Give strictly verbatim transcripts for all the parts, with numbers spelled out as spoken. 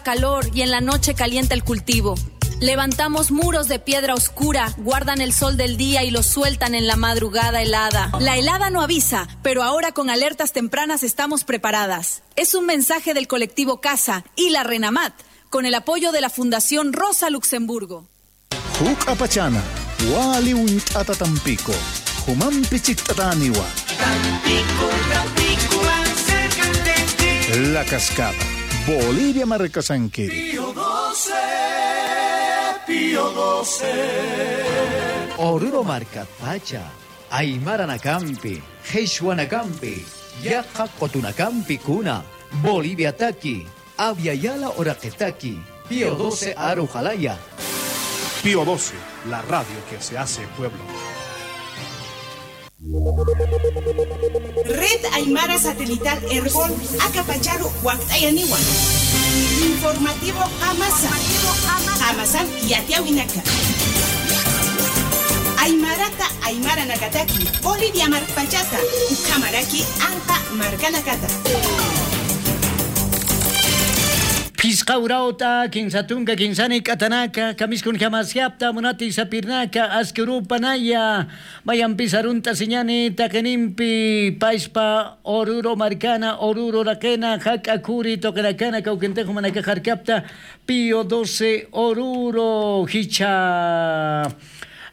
calor y en la noche calienta el cultivo. Levantamos muros de piedra oscura, guardan el sol del día y lo sueltan en la madrugada helada. La helada no avisa, pero ahora con alertas tempranas estamos preparadas. Es un mensaje del colectivo Casa y la Renamat, con el apoyo de la Fundación Rosa Luxemburgo. Juk'apachana, wali uñt'ata Tampico, jumampi chikt'atäniwa. Tampico, Tampico, más cerca de ti. La Cascada, Bolivia markasankiri. Pío doce, Pío doce. Oruro markatpacha, aymaranakampi, qhichwanakampi, yaqha qutunakampi kuna, Boliviataki, Abya Yala uraqitaki, Pío doce aru qalaya. Pío doce, la radio que se hace pueblo. Red Aymara Satelital Erbol, akapacharu wakt'ayaniwa. Informativo Qamasa. Qamasan yatiyawinaka. Aymarata, aymaranakataki, Bolivia markpachata, ukhamaraki anqa markanakata. Phisqa urawt'a, kinsa tunka, kinsa nik'atanaka, kamisas kunjamaskapta, munati sapirnaka, aski urupanaya, mayampis arunt'asiñani, taqinimpi, payspa, Oruro markana, Oruro uraqina, jak'a khuri tuqinakana, kawkintix jumanakax jarkapta, Pío doce Oruro, jichha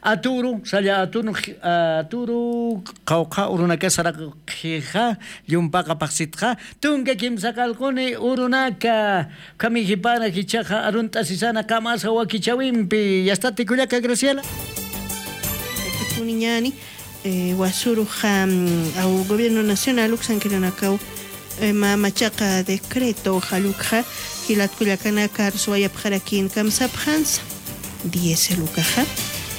Aturu, salla Aturu, Aturu, qawqha urunaka saraqxixa, llumpaqa phaxsitxa, tunka kimsa qallquni urunaka, ukhami jipara jichhaxa arunt'asisana qamasa wakichäwimpi, yastati kullaka Graciela. Kuniñani, eh, wasuruxa, mm, aw gobierno nacional uksankirinakaw, eh, ma-, machaqa decreto jallukxa, jilat kullakanaka, arsuwayapxarakin kamsapxansa, diésel ukaxa,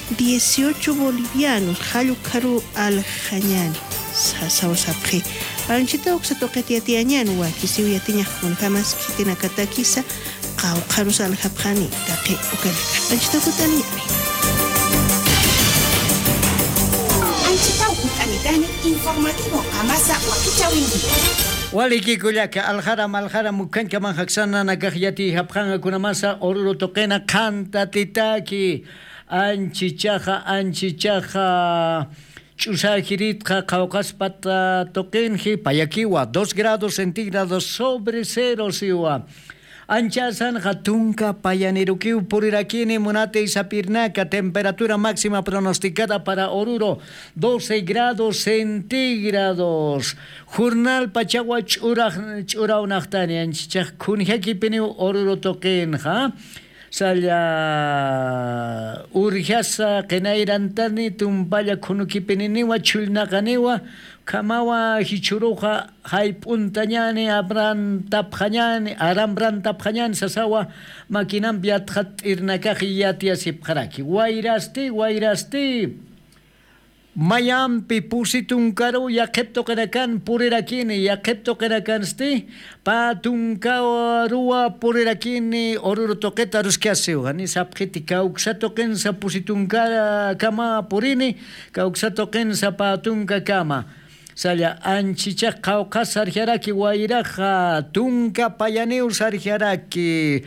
dieciocho bolivianos jallukxaru aljañani, sasaw sapxi. Anchita uksa tuqit yatiyañan, wakisiw yatiñax kunjamas khitinakatakisa, qawqharus aljapxani taqi ukanaka. Anchita jut'ani. Anchita jut'anitani informativo qamasa wakichäwimpi. Waliki kullaka, aljaram, aljaram, ukhañkaman jaksananakax yatiyapxanxa kunamasa Oruro tuqina qhantatitaki. Anchichaxa, anchichaxa. Ch'usajiritxa qhawqhaspat, ah, tuqinji, payakiwa, dos grados centígrados sobre cero siwa. Anchasanxa tunka payanirukiw purirakini munati sapirnaka, temperatura máxima pronosticada para Oruro, doce grados centígrados. Jornal pachawa ch'ura-, ch'urawnaqtani, anchichax kunjakipiniw Oruro tuqinxa. Salla urjasa qinayrantani, tumpalla khunukipininiwa, chhullnaqaniwa, ukhamawa jichhüruxa jayp'untañani, abrantapxañani, arambantapxañani sasawa, maquinampi yatxatt'irnakax yatiyasipxaraki. Wayrasti, wayrasti. Mayampi pusi tunkaruw yaqhip tuqinakan purirakini, yaqhip tuqinakansti pä tunkaruwa purirakini, Oruro tuqita aruskasiw, jani sapxiti, kawksa tuqinsa pusi tunkakama purini, kawksa tuqinsa pä tunkakama. Salla anchichax qhawqhas sarjaraki, wayraxa tunka payaniw sarjaraki.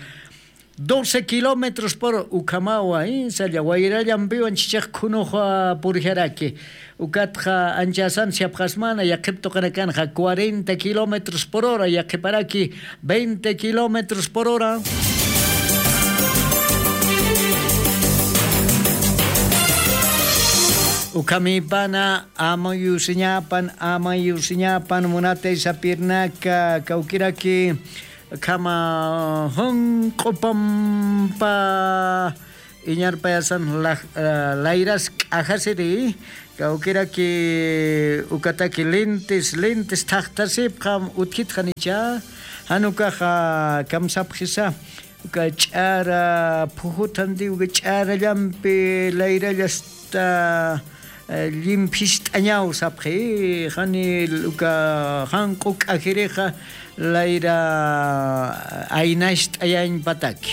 Doce kilómetros por hora, ukhamawa, ¿eh? Salla wayrallampiw anchichax khunux, ah, purjaraki. Ukatxa anchasans yapxasmana, yaqhip tuqinakanxa cuarenta kilómetros por hora, yaqhiparaki veinte kilómetros por hora. Ukhamipana, amayusiñapan, amayusiñapan, munati sapirnaka, kawkiraki, Khama junq'u pampa iñarpayasan laj-, eh, layras k'ajasiri, kawkiraki ukataki lintis, lintis thaqthasipxam utjitxanicha, jan ukaxa kamsapxisa, uka ch'ara phujuthanti, uka ch'arallampi layrallasta eh, llimphicht'añaw sapxi, jani uka janq'u k'ajirixa layra aynacht'ayañpataki.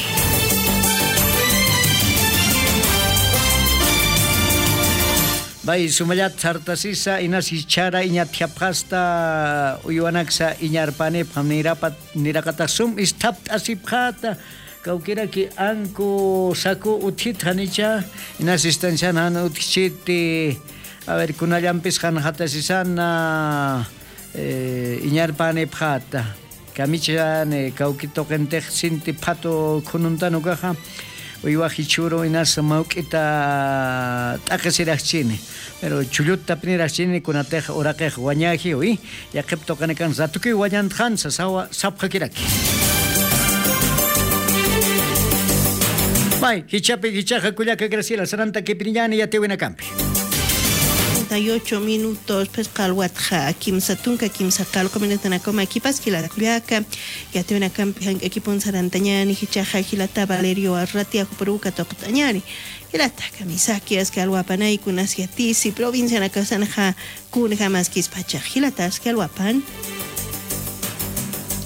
Pay sumallat sartasisa inas jichhara iñatjapxasta, uywanaksa iñarpanipxam nirapat niraqatax sum isthapt'asipxata. Kawkiraki anku saku utjit janicha, inas istancian jan utjchiti. A ver, kunallampis janjatasisana iñarpanipxata. Kamichani kawki tuqintix sinti phatu khununtan ukaxa, uywax jichhüru inas mawk'ita t'aqisiraxchini. Pero chulluttapiniraxchini kunatix uraqix wañäjiwi. Yaqhip tuqinakan ratukiw wañantxansa sawa sapxakiraki. May jichhapi jichhaxa kullaka Graciela sarantakipiriñäni yatiwinakampi. Treinta y ocho minutos phisqa alwatxa kimsa tunka kimsa qalqu minutanakama kipas jilata kullaka. Yatiwinakampi jank'akipun sarantañäni jichhaxa jilata Valerio Arratia juparuka tuqt'añäni. Jilata kamisaki aski alwapanay kunas yatisi provincianakasanxa kunjamaskispachax jilata aski alwapan.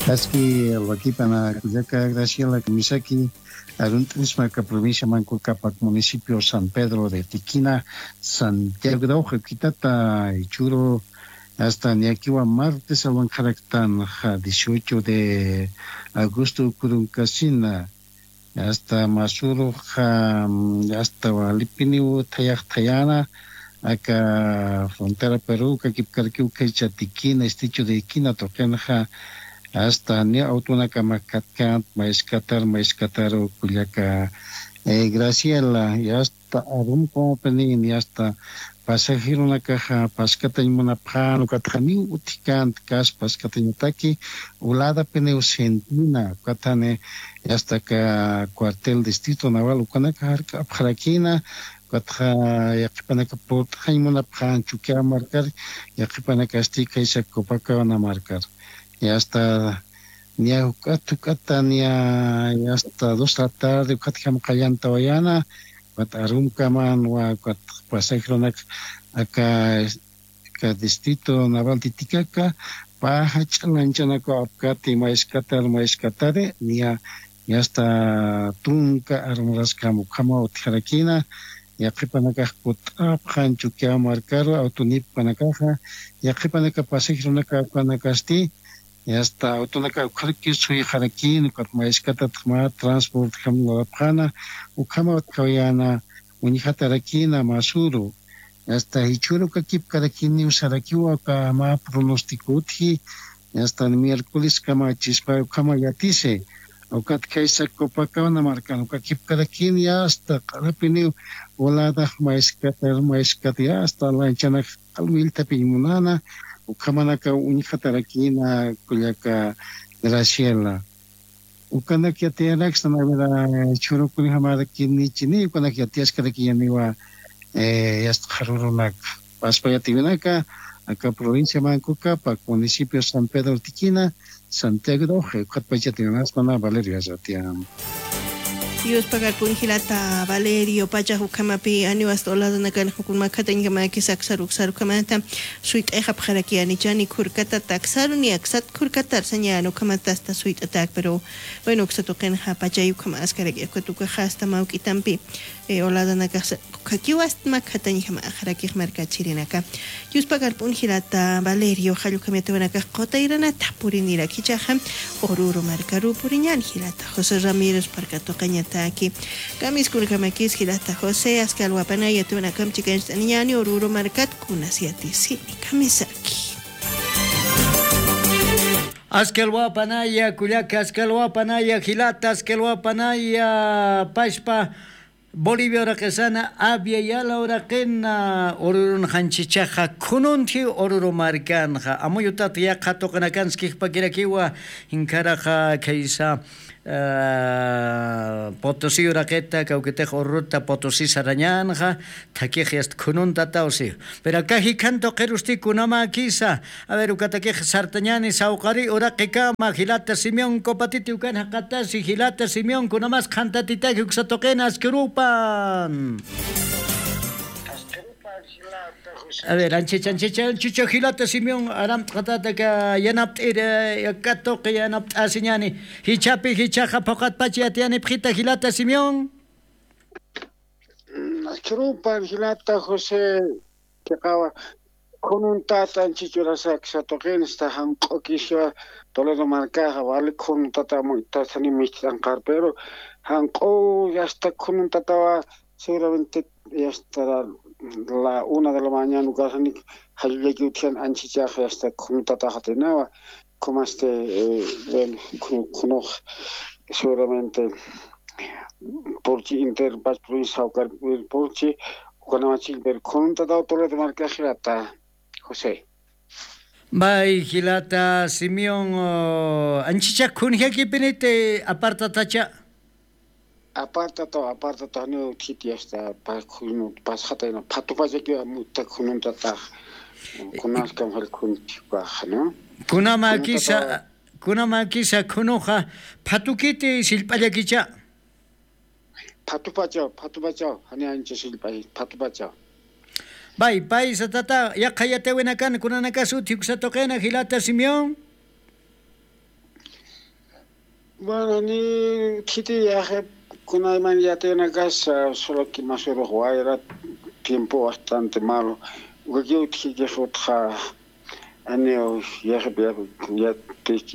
Aski alwakipana kullaka Graciela kamisaki. Arunt'isma aka provincia Manco Cápac, municipio San Pedro de Tiquina, Santiago de Ojo, kitata jichhüru hasta niyakiwa martes alwankxaraktanxa dieciocho de agosto ukhürünkasina, hasta masüruxa, hasta walipiniw thayax thayäna, aka frontera Perú, kakipkarakiw khaycha Tiquina, estrecho de Tiquina tuqinxa, hasta niya autonakamak katkänti, mayskat, mayskat kullaka, eh, Graciela, y hasta arumkamapinis, y hasta pasajeronakaxa paskatañ munapxän, ukatxa niw utjkänti, kas paskatañataki, uladapiniw sentina, ukatxani, y hasta aka cuartel distrito naval, ukanaka jark'apxarakïna, ukatxa yaqhipanaka purt'xañ munapxän Chukiyawu markar, yaqhipanakasti khaysa Copacabana markar. Y hasta niya juk'at juk'ata niya, y hasta dos de la tarde ukatjam qallantawayäna, ukat arumkaman, ukat pasajeronak aka, aka distrito naval Titicaca, pä jach'a lanchanaku apkati, mayskat, mayskat, niya, y hasta tunka arumaraskam ukhama utjarakïna, yaqhipanakax kut'apxän Chukiyawu markaru, autonipkanakaxa, yaqhipanaka pasajeronaka ukanakasti, y hasta autonaka ukxarakis suyxarakïn, ukat mayskat mä transportjam lurapxäna, ukhama utjawayäna, uñjatarakïna masüru, y hasta jichhüru kakipkarakïniw sarakiwa, uka mä pronostico utji, y hasta miércoles kamachispa ukhama yatisi, ukat khaysa Copacabana markan, uka kipkarakïn, y hasta q'arapiniw oladax mayskat, mayskat, y hasta lanchanax q'al willthapiñ munäna, ukhamanakaw uñjatarakïna kullaka Graciela. Ukanak yatiyarakstan, a ver, jichhüru kunjamarakinichini, ukanak yatiyaskarakiñäniwa, eh, yasta qharürunak. Paspa yatiwinaka, aka provincia Manco Cápac, municipio San Pedro Tiquina, Santiago de Oje, ukatpach yatiwinasmana Valerio Arratia. Yuspagarpun jilata Valerio, pachax ukhamapi aniw hasta oladanakan jukun makhatañjamäkis aksar uksar ukhamata suyt'ayxapxarakiyänichani khurkatata aksaru niya aksat khurkatar sañäni ukhamata hasta suyt'atak, pero bueno, uksa tuqinxa pachay ukhama askarak'i, ukat ukaxa hasta mawk'itampi, eh, oladanakax ukhakiw hasta makhatañjamäxarakix markachirinaka. Yuspagarpun jilata Valerio, jall ukham yatiwanakax qutayranata purinirak jichhaxa Oruro markaru puriñäni jilata José Ramírez parka tuqañataki. Kamiskunakamakis jilata José, aski alwapanay yatiwinakam chikancht'aniñäni Oruro markat kunas yatisini. Kamisaki. Aski alwapanaya kullaka, aski alwapanaya jilata, aski alwapanaya pachpa Bolivia uraqisana, Abya Yala uraqina, Orurunxanchichaxa khununti Oruro markanxa, amuyutat yaqha tuqinakansa kijpakirakiwa, jinkharaxa khaysa, ah, Potosí uraqita, kawkitix Oruruta Potosí sarañänxa, thakix yasta khununtataw si. Pero aka jikhan tuqirusti kunamäkisa, a ver, ukatakix sartañäni sawqari uraqikama, jilata Simeón Copatiti ukan jaqatasi, jilata Simeón, kunamas qhantatitaki uksa tuqina askirupan. A ver, anchich, anchich, anchicha jilata Simeón, aramt'xatäta aka yanapt'ir, eh, aka tuqi yanapt'asiñäni. Jichhapi, jichhaxa phuqatpach yatiyanipxita jilata Simeón. Mm, askirupan jilata José, Chiqawa khununtat anchich urasaksa tuqinsta janq'ukiswa. Toledo markaxa wali khununtatama tasani micht'anqar pero janq'u yasta khununtatawa. Seguramente yasta la una de la mañana ukasani jallullaki utjian anchichax yasta khunutataxatinawa. Khumasti bueno, khunux seguramente purchi inter pach provincia sawkar purchi ukanamachil pero khununtatawtulata markaxirata. José. Bay jilata simeón, anchichak khunjakipiniti apartatacha. Apartataw apartataw niw thiti asta pasxatayna phatupachakiwa muttak khununtatax. Kunaskam jal khunchikpaxa no? Kunamakisa kunamakisa khunuxa phatukiti sillp'allakicha. Phatupachaw phatupachaw jani ancha sillp'ay phatupachaw. Bay paysa tata yaqha yatawinakan kunanakas utji uksa tuqina jilata simeón. Bueno ni khiti yaxe kunayman yatawinakas solo que masurux wayra tiempo bastante malo. Ukakiw utjikix utxa aniw yaxip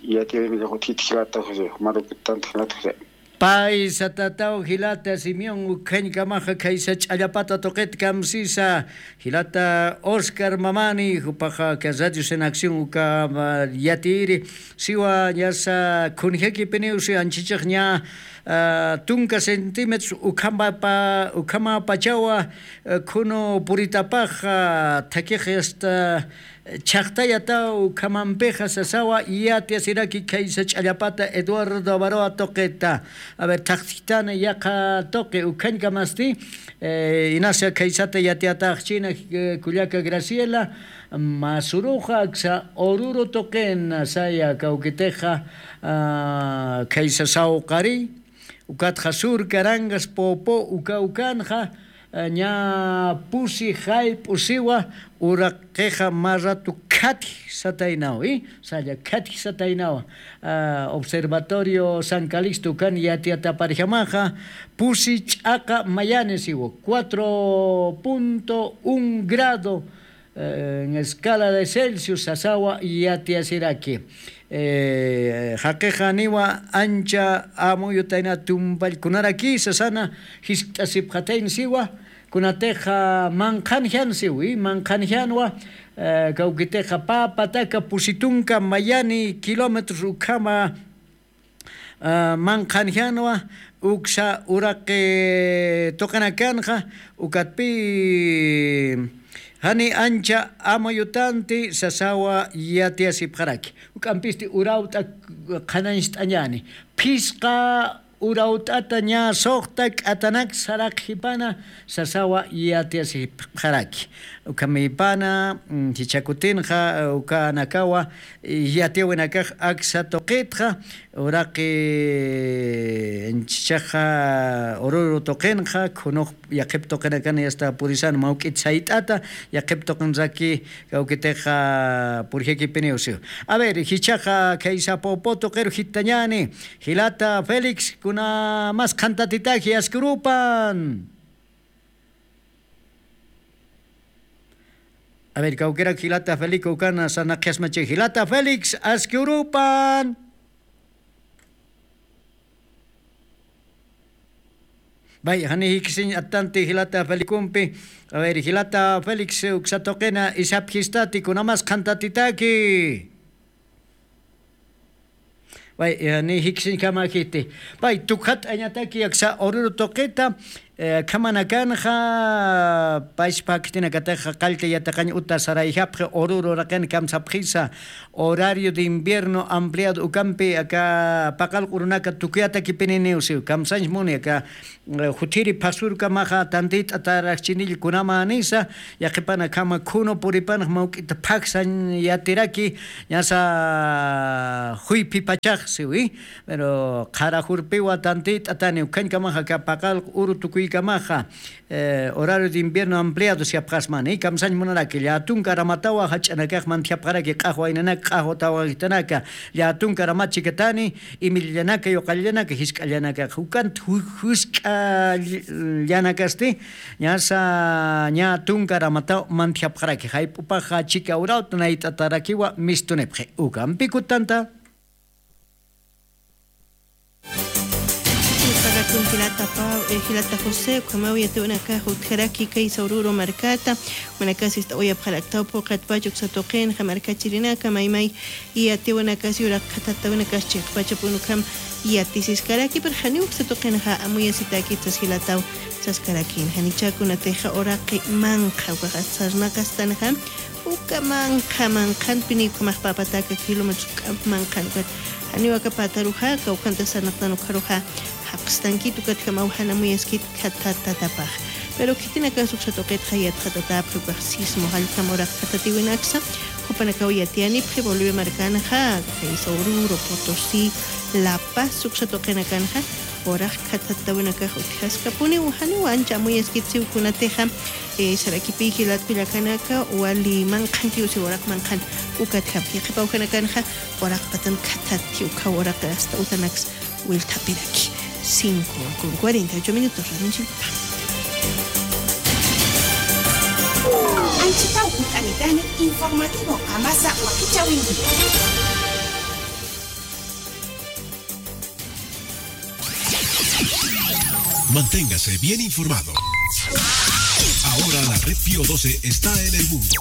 yatawinakax utjitjilata jose marukitanti jilata jose. Paysa tataw jilata simeón ukhañkamaxa khaysa ch'allapata tuqit kamsisa jilata oscar mamani jupaxa aka radios en acción uka yatiyiri siwa ñasa khunjakipiniw si anchichix ña tunka centímetros ukhamapa ukhamapachawa khunu puritapaxa thakix asta chhaqtayataw ukhamampixa sasawa yatiyasiraki khaysa ch'allapata eduardo avaroa tuqita. A ver thaqtjtan yaqha tuqi ukhañkamasti inasa khaysata yatiyataxchina kullaka graciela masuruxa aksa ururu tuqin saya kawkitixa khaysa sawqari ukatxa sur carangas popo uka ukanxa ña pusi jallp'u siwa uraqixa mä ratu khatji sataynaw i salla khatji sataynawa. Observatorio san calixto ukan yatiyataparjamaxa pusi ch'aqa mayani siwa cuatro punto un grado en escala de celsius sasawa yatiyasiraki. Jaqixa niwa ancha amuyutayna tumpallkunaraki sasana jiskt'asipxatayna siwa. Kunatixa manqhanjan siwi manqhanjanwa kawkitixa pä pataka pusi tunka mayani kilómetros ukhama manqhanjanwa uksa uraqi tuqinakanxa ukatpï jani ancha amayutanti sasawa yatiyasipxaraki. Juk'ampisti urawt'a qhanañcht'añäni phisqa urawt'ata ñä suxta k'atanak saraqjipana sasawa yatiyasipxaraki. Ukhamipana jichhakutinxa ukanakawa yatiyawinakax aksa tuqitxa uraqi anchichaxa ururu tuqinxa khunux yaqhip tuqinakan yasta purisan mawk'it sayt'ata yaqhip tuqinraki kawkitixa purjakipiniw siw. A ver jichhaxa khaysa pupu tuqiru jittañäni jilata félix kunamas qhantatitaki aski urupan. A ver kawkirak jilata felico ukana sarnaqjasmachi jilata félix aski urupan. Bay jani jikisiñ attanti jilata felicompi. A ver jilata félix uksa tuqina isapjistati kunamas qhantatitaki. Pay ni jikisiñkama jiti pay tukjat'añataki aksa ururu tuqita. Khamanakanxa pachpa khitinakataxa qallta yataqañ uta sarayjapxi ururu raqin kamsapxisa. Horario de invierno ampliado ukampi aka paqal q'urunaka tukuyatakipininiw siw kamsañs muni aka juthiri phasurkamaxa tantit'atarakchinillkunamänisa. Yaqhipanakama khunu puripanx mawk'ita phaksañ yatiraki ñasa juyphipachax siwi. Pero qhara jurpiwa tantit'atani ukhañkamaxa aka paqal uru tukuy Chikamaxa, eh, horario de invierno ampliado siyapxasmani, kamsañ munaraki, llätunka aramatawa jach'anakax mantjapxaraki, q'axwa inanaka, q'axwa tawajitanaka, llätunka aramat chikatani, imillanaka, yuqallanaka, jisk'allanaka, juk'ant ju-, jusk'allanakasti, ñasa, ñä tunka aramataw mantjapxaraki, jayp'upaxa chika urawt nayt'atarakiwa mistunipxi, ukampi kutanta. Jilata Pau, eh, jilata José, ukhamaw yatiwanakax utjaraki kaysa Oruro markata, jumanakasa ist'awayapxaraktaw phuqhatpach uksa tuqinxa markachirinaka, maymay yatiwanakasa uraq khathattawinakax chiqpachapun ukham yatisiskaraki, pero janiw uksa tuqinxa amuyasitäkit sas jilataw saskarakin, janicha kunatixa uraqi manqha ukaxa sarnaqastanxa, uka manqha, manqhanpini ukhamax pä pataka kilómetros k'amp manqhan ukat. Janiw aka pataruxa, kawkhanta sarnaqtan ukharuxa, jaqstankit ukatjamaw jan amuyaskit khathatatapax. Pero khitinakas uksa tuqitxa yatxatatäpxi ukax sismo jallkham uraq khathatiwinaksa, jupanakaw yatiyanipxi Bolivia markanxa, kaysa Oruro, Potosí, La Paz uksa tuqinakanxa, uraq khathattawinakax utjaskapuni, janiw ancha amuyaskitsiw kunatixa, eh, sarakipï jilat kullakanaka, wali manqhankiw siwa uraq manqhan, ukatjam, yaqhip awjanakanxa, uraq patan khathatti, ukhaw uraq hasta utanaks wilthapiraki. Cinco con cuarenta y ocho minutos, Radio Chilpa. Anchitaw utanitani, informativo, amasa, wakichawinki. Manténgase bien informado. Ahora la red Pío doce está en el mundo.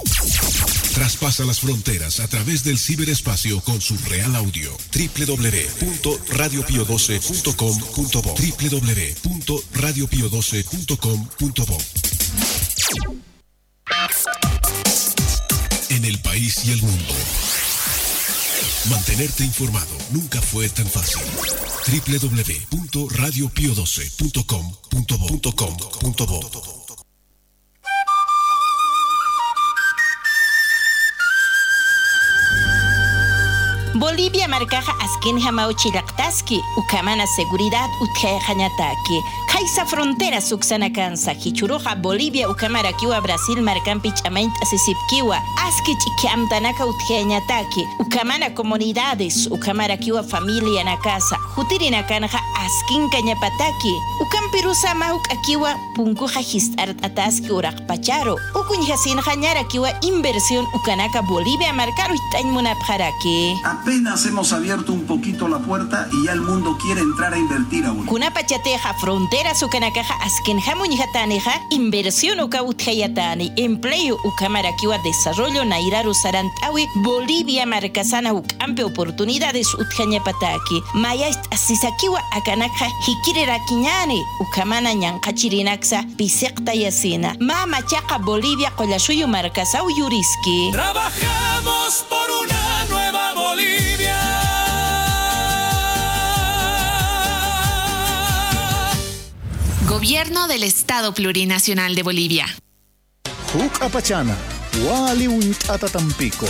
Traspasa las fronteras a través del ciberespacio con su real audio. W W W punto radio pio doce punto com punto bo. W W W punto radio pio doce punto com punto bo. En el país y el mundo. Mantenerte informado nunca fue tan fácil. W W W punto radio pio doce punto com punto bo. Bolivia markaxa askinjamaw chillaqtaski, ukhamana seguridad utjayxañataki. Khaysa fronteras uksanakansa, jichhüruxa Bolivia ukhamarakiwa Brasil markampi ch'amañt'asisipkiwa, aski ch'ikhi amtanaka utjayañataki, ukhamana comunidades, ukhamarakiwa familianakasa, jutirinakanxa askinkañapataki, ukampirusa mä juk'akiwa punkuxa jist'art'ataski uraqpacharu, uka uñjasinxa ñarakiwa inversión ukanaka Bolivia markaru jit'añ munapxaraki. Apenas hemos abierto un poquito la puerta y ya el mundo quiere entrar a invertir a Bolivia. Kunapachatixa fronteras ukanakaxa askinjam uñjatänixa, inversión ukaw utjayatani, empleo ukhamarakiwa desarrollo nayraru sarant'awi Bolivia markasana juk'ampi oportunidades utjañapataki. Mayacht'asisakiwa akanakxa jikirirakiñäni, ukhamana ñanqhachirinaksa pisiqtayasina. Mä machaqa Bolivia qullasuyu markasaw yuriski. Trabajamos por una nueva Bolivia. Gobierno del Estado Plurinacional de Bolivia. Juk'apachana, wali uñt'ata Tampico,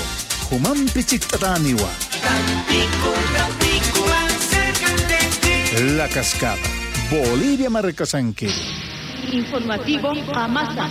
jumampi chikt'atäniwa. Tampico, Tampico, más cerca de ti. La Cascada, Bolivia markasankiri. Informativo Qamasa.